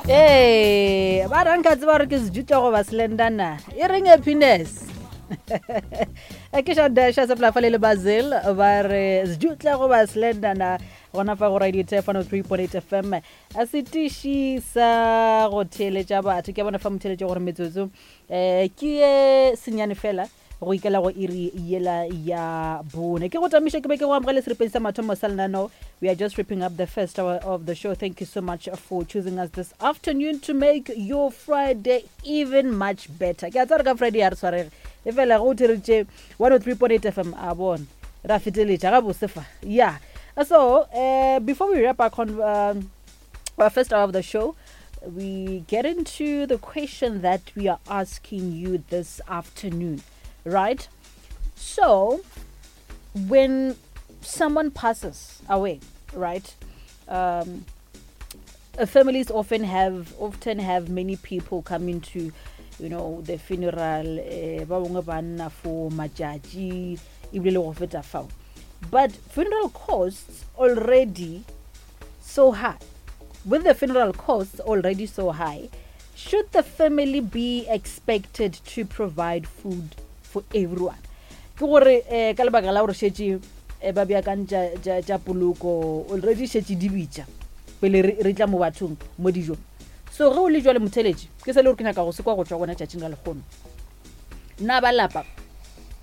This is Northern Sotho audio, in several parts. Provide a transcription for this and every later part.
Ee, ba ra nka tseba gore ke sejutša goba slendana e reng happiness. Ke xa dasha se polafa le le bazil ba re sejutla goba slendana gona fa go radio tef 103.8 FM, a setiši sa go theeletša batho. Ke a bona fa motheeletše gore metsotso um ke ye senyane fela go ikela go iri yela ya bone. Ke go tamiše ke be ke go amogele seripeng sa mathomo sa lenaneo. We are just wrapping up the first hour of the show. Thank you so much for choosing us this afternoon to make your Friday even much better. Ke a tsaya re ka Friday ya re tshwarege e fela go thereditše 103.8 FM, a bona ra feteletša ga bose fa. Yeah, so before we wrap our first hour of the show, we get into the question that we are asking you this afternoon, right? So, when someone passes away, right? Families often have many people coming to the funeral, ba bangwe ba nna for matšatši ebile le go feta fao, but funeral costs already so high. With the funeral costs already so high, should the family be expected to provide food for everyone? Ke gore ka lebaka la gore šetše ba beakantša tša poloko already, šetše di bitša pele re tla mo bathong mo dijong. So ge o le jwale motheletši, ke se le gore ke nyaka go se kwa go tšwa gona tšatšing la lekgono, na ba lapa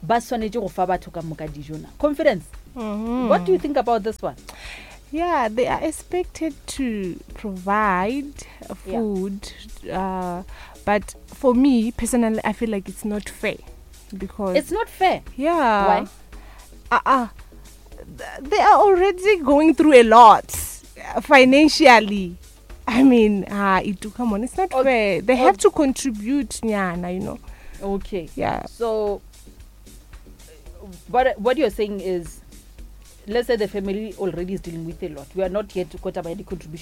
ba swanetše go fa batho ka moka dijo na? Confidence, what do you think about this one? Yeah, they are expected to provide food, but for me personally, I feel like it's not fair because It's not fair? Yeah. Why? They are already going through a lot financially. I mean, it come on, it's not fair. They have to contribute, nyana. Yeah. So, what you're saying is, let's say the family already is dealing with a lot. We are not yet got about the contribution.